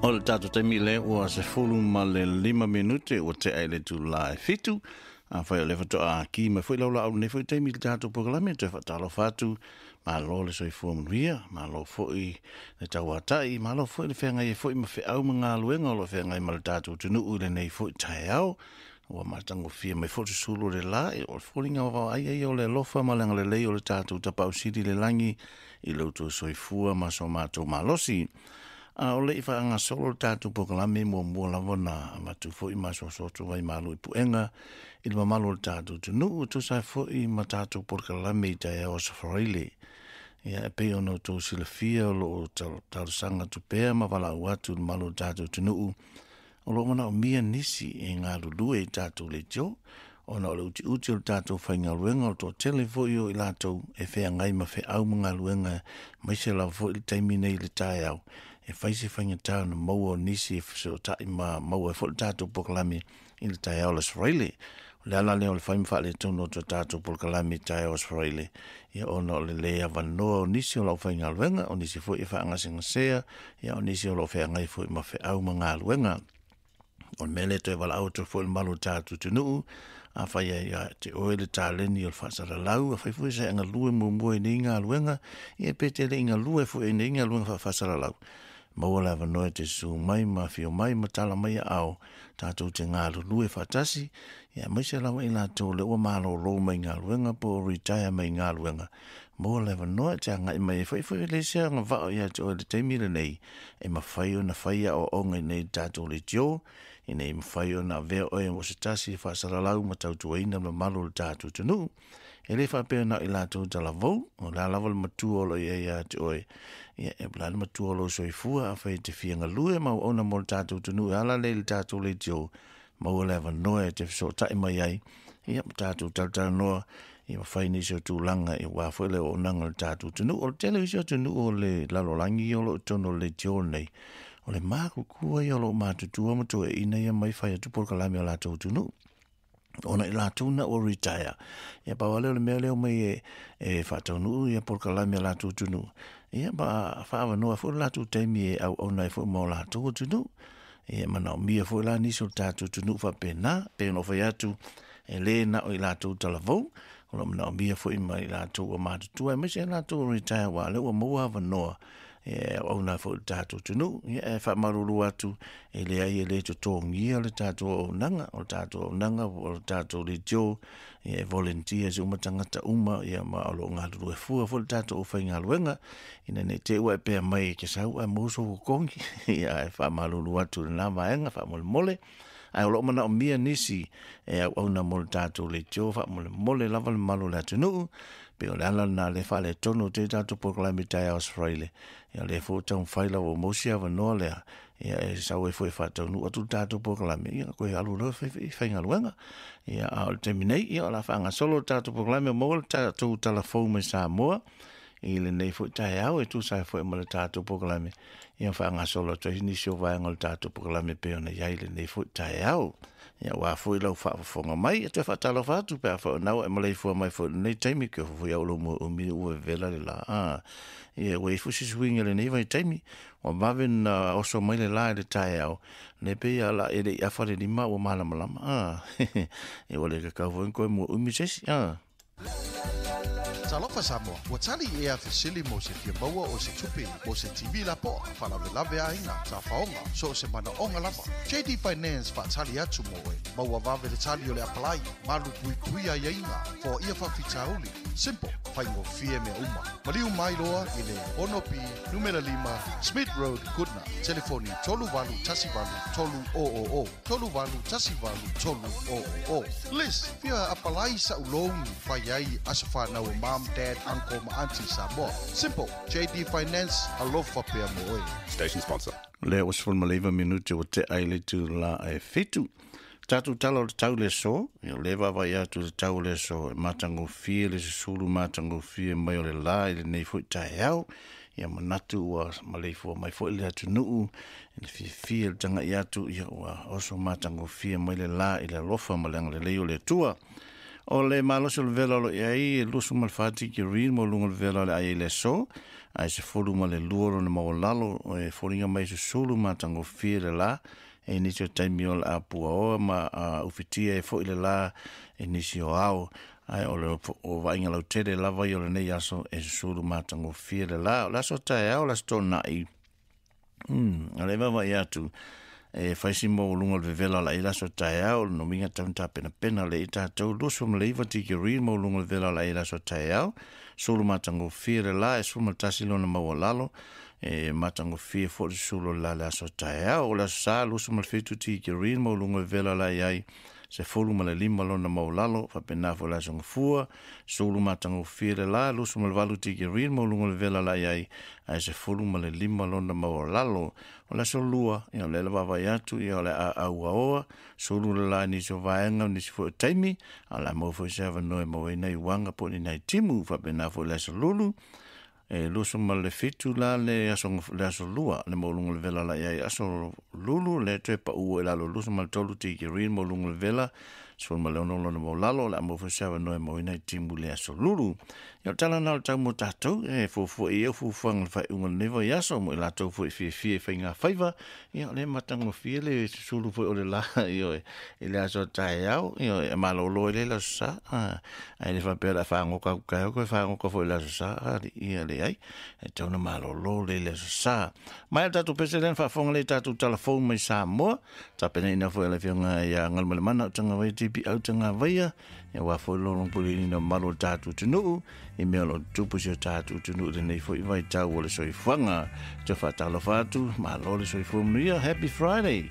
O le tatou taimi lea ua 15 minute ua tea i le itula e 7. Afai o lea faatoa ki mai foi lau laau i lenei foi taimi i le tatou polokalame, toe faatalofa atu, malo le soifua manuia, malo foi le tauatai, malo foi le feagai ai foi ma feau ma galuega o lo o feagai ma le tatou atunuu i lenei foi taeao. Ua matagofie mai foi le susulu o le la, o le foliga vaavaaia ia o le alofa ma le agalelei o le tatou Tapaau Sili i le lagi i lo outou soifua ma so matou malosi. A o le i faagasolo le tatou polokalame, muamua lava ona avatu foi ma asuasu atu vai malu i puega i le mamalu o le tatou atunuu e tusa ai foi ma tatou polokalame i taeao Aso Faraile. Ia, e pei ona outou silafia, o lo o talosaga atu pea ma valaau atu i le mamalu o le tatou atunuu, o lo o manaomia nisi e galulue i tatou leitio, ona o le utiuti o le tatou faigaluega, o le toatele foi o i latou e feagai ma feau ma galuega, aemaise lava foi le taimi nei i le taeao, e fai se faigata ona maua o nisi e fesootai ma maua ai foi le tatou polokalame i le taeao o le Aso Faraile. O le ala lea o le fai ma faaletonu o tatou polokalame i taeao Aso Faraile, ia ona o le le avanoa o nisi o le aufaigaluega, o nisi foi e faagasegasea, ia o nisi o lo o feagai foi ma feau ma galuega. O le mea lea toe valaau atu foi i le mamalu o le tatou atunuu, afai ai ia te oe le taleni o le faasalalau, afai foi sa e galue muamua i nei galuega, ia pe te le i galue foi i nei galuega faafaasalalau, maua le avanoa e te susu mai ma afio mai ma tala mai aao, tatou te galulue faatasi, ia aemaise lava i latou o lea ua malolo mai galuega po o retire mai galuega, maua le avanoa e te agai mai ai foi foi le isi agavaa ia te oe i le taimi lenei, e mafai ona fai aoaoga i inei i le tatou leitio, ina ia mafai ona avea oe mo se tasi e faasalalau ma tautuaina le mamalu o le tatou atunuu. E le faapea na o i latou talavou, o le a lava le matua o lo o i ai ia te oe, ia e o le a le matua o lou soifua, afai e te fia galue ma auauna mo le tatou atunuu e ala lea i le tatou leitio, maua le avanoa e te fesootai mai ai, ia ma tatou talatalanoa, ia ma fai nisi o tulaga aua foi le auaunaga a le tatou atunuu. O le tele o isi atunuu o le lalolagi o lo o i totonu o le leitio lenei, o le matutua ia o lo o matutua ma toeaiina ia mai fai atu polokalame a latou atunuu, ona i latou na ua retire, ia pau lava lea o le mea lea omai e faataunuu ia polokalame a latou atunuu, ia ma faaavanoa foi le latou taimi e auauna ai foi mo latou atunuu. Ia e manaomia foi la nisi o le tatou atunuu faapena, pei ona ou fai atu, e le na o i latou talavou, o lo o manaomia foi ma i latou ua matutua, aemaise i latou ua retire, aua o lea ua maua avanoa e auauna ai foi i le tatou atunuu. Ia, e faamalulu atu, e leai e le totogia le tatou auaunaga, o le tatou auaunaga o le tatou leitio, ia e volunteers uma tagata uma, ia ma o lo o galulue fua foi le tatou aufaigaluega, ina ne i te i ua e pea mai e te sau ae maua sou totogi, ia ae faamalulu atu i lena vaega faamolemole. Ae o lo o manaomia nisi e auauna mo le tatou leitio faamolemole lava le mamalu o le atunuu, pei o le ala lena lea faaletonu atu ai tatou polokalame i taeao Aso Faraile, ia o lea foi ua taumafai lava ua maua si avanoa lea, ia e sau ai foi e faataunuu atu le tatou polokalame, ia toe alu loa faigaluega. Ia a o le taimi nei, ia o le a faagasolo le tatou polokalame, ua maua le tatou tala fou mai Samoa i lenei foi taeao e tusa ai foi ma le tatou polokalame, ia faagasolo atu ai nisi o vaega o le tatou polokalame pei ona i ai lenei foi taeao. Ia aua foi lau faafofoga mai, e toe faatalofa atu pe afai o lena ua e maleifua mai foi i lenei taimi, ke foi au lo mua umi ua vevela le la. Ia ua i ai foi se suiga i lenei vaitaimi, ua vave ona oso mai le la i le taeao, le pei a la e le i afa le lima ua malamalama. Ia ua le tatau foi ona toe mua umi se isi. Talofa Samoa, ua tali ea fesili mo se fia maua o se tupe mo se TV lapoa, faalavelave aiga, tafaoga, so o se manaoga lava. JD Finance faatali atu mo oe. Maua vave le tali o le apalai, malu puipui aiaiga, foaia faafitauli. Simple, faigofie mea uma. Maliu mai loa i le 6B numera 5 Smith Road, Goodna. Telefoni 3818 300, 3818 300. Liz, fia apalai sa'u loan fai ai aso fanau o mom, dad, uncle ma auntie Samoa. Simple, JD Finance, alofa pea mo oe. Station sponsor. Lea ua 19 minute ua tea i le itula e 7. Tatou tala o le tau le aso, ia o lea e vaavaai atu i le tau o le aso, e matagofie le susulu matagofie mai o le la i lenei foi taeao. Ia manatu ua maleifua mai foi le atunuu i le fiafia i le tagai atu, ia ua oso matagofie mai le la i le alofa ma le agalelei o le Atua. O le malosi o le vela o lo i ai e 24 tikeri mo luga o le vela o le ai i le aso, ae 12 lona maualalo e foliga mai susulu matagofie le la e nisi o taimi o le apuaoa ma ufitia e foi le la e nisi o ao. Ae o le o vaaiga lautele lava ia o lenei aso e susulu matagofie le la. O le aso taeao, o le aso toonai, o le vaavaai atu e fai si maualuga o le vevela o la i le aso taeao, o le nomiga tau na tapenapena le i tatou 29 tikeri maualuga o le vevela o la i le aso taeao, sulu matagofie le la e 11 lona maualalo, e matagofie foi le susulu o le la le aso taeao. O le aso sa 27 tikeri maualuga o le vevela o la i ai 15 lona maualalo, faapena foi le aso gafua, sulu matagofie le la, 28 tikeri maualuga o le vevela o la i ai, ae 15 lona maualalo. O le aso lua, ia o le la vaavaai atu, ia o le a auaoa, sulu le la i nisi o vaega, o nisi foi o taimi, a o le a maua foi se avanoa e maua ai nai uaga po o ni nai timu, faapena foi le aso lulu, e 27 la le aso, le aso lua, le maualuga o le vela la i ai aso lulu, le toe pau i lalo 23 tikeri maualuga o le vela, 16 lona maualalo, o le a maua foi se avanoa e maua ai nai timu le aso lulu. Ia o le tala lena o le tau mo tatou, e fuafua i ai fuafuaga o le faaiuga o lenei vaiaso, mo i latou foi e fiafia i faiga faiva, ia o lea e matagofie le susulu foi o le la, ioe, i le aso taeao, ioe, e malolo ai le le aso sa, ae le faapea o le a fagoka atu taeao, toe fagoka foi i le aso sa, ia leai, e tatau ona malolo le le aso sa. Mai le tatou pese lea na faafofoga lea i tatou tala fou mai Samoa, tapenaina foi e le Afioga ia Galumalemana o Tagavaia TP au Tagavaia, ia aua foi le lologopuleina o mamalu o le tatou atunuu, i mea o lo o tutupu i si o tatou atunuu i lenei foi vaitau o le soifuaga. Toe faatalofa atu, malo le soifua manuia, happy Friday!